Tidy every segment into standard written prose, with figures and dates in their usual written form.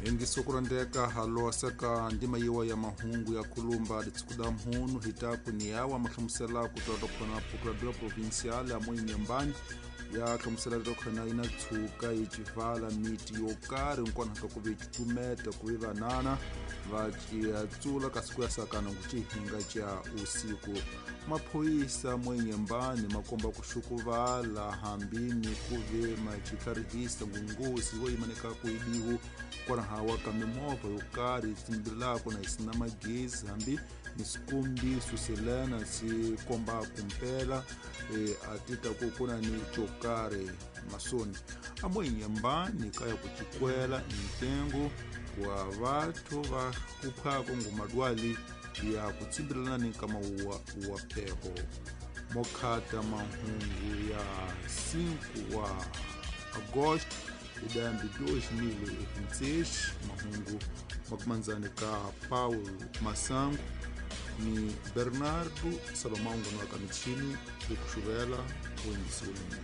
Hengiso kurondeka halosa ka ndima yiwa ya mahungu ya kulumba litsikuda mhunu hitaku ni yawa mahlamusela ku twa khona procuradoria provincial ya moinyembani ya hlamusela tokhona ina tshuka yi civala miti yo karhi nkwana ka ku ve cukumeta ku ve vanana va tsula kasi ku ya sakana ku cihinga ca usiku. Maphoyisa moinyembani ma komba ku xukuvala hambi ni ku ve ma citlharihisa ngungozi wo yimaneka ku ibiwu kwalahawa ka mimovha yo karhi tsimbilako na yi sina magezi hambi ni swikombiso selena swi komba kumpela a ti ta ku kuna ni xo karhi masoni a moinyembani kaya ku cikwela ntengo wa vathu va kuphako ngumadwali ya ku tsimbilana ni nkama wa pheho. Mokhata mahungu ya 5 wa agosto idambi 2026 mahungu makumanzani ka Paulo Masango ni Bernardo Salomão Ngonoka michini ukuxuvela kuingisiweni.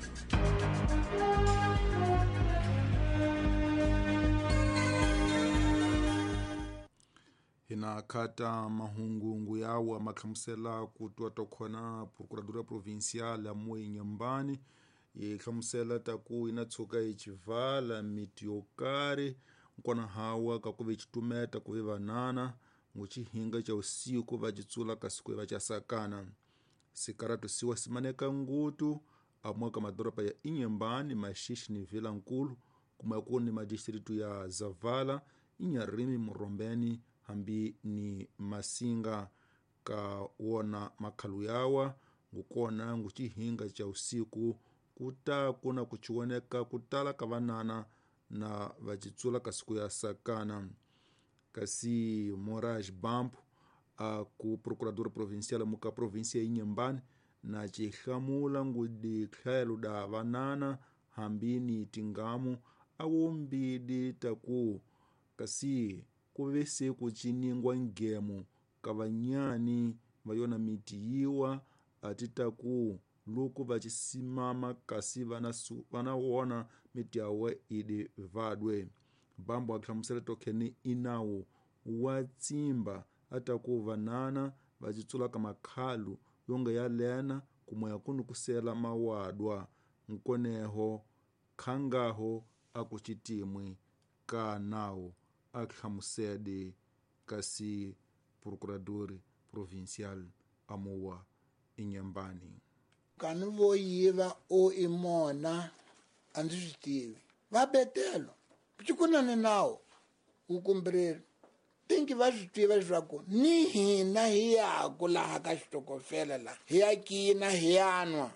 Hina khata mahungungu yawa mahlamusela ku twa tokhona procuradoria provincial ya Moinyembani yi hlamusela ta ku ina tshuka yi civala miti yo karhi nkwana hawa ka ku ve citumeta ku ve vanana ngucihinga ca usiku va citsula kasi ku va ca sakana. Sikaratu siwa simaneka ngutu amwe ka madoroba ya Inhambane, Maxixe ni Vilankulu kumwe ku ni madistritu ya Zavala, Inharime, Morombeni hambi ni Masinga ka wona makhalu yawa ngukona ngucihinga ca usiku kuta kuna kuchiwoneka kutala ka vanana na vacitsula kasi ku ya sakana. Kasi Moraes Bampo a ku procurador provincial muka província ya Inhambane na cihlamula ngudi tlhelo da vanana hambi ni tingamu awombidi taku kasi ku ve se ku ciningwa ngemo ka vanyani va yona miti yiwa a ti taku loko va cisimama kasi vana wona miti yawe idi vadwe. Bambo a hlamusela tokheni inawu wa tsimba ataku vanana va citsula ka makhalu yonga ya lena kumwe kuni kusela mawadwa nkoneho khangaho aku citimwi ka nawu a hlamusede kasi procurador provincial amuwa Inhambane. Kani vo yiva o imona a ndzi swi tivi va betelo cikunani nawu wu kumbiriri tinki va swi tiva leswaku ni hina hi yaku laha ka xitokofela laha hi ya kina hi ya nwa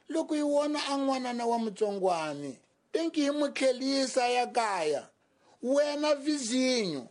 loko hi wona a n'wanana wa mutsongwani tinki hi n'wi tlhelisa ya kaya wena vizinyo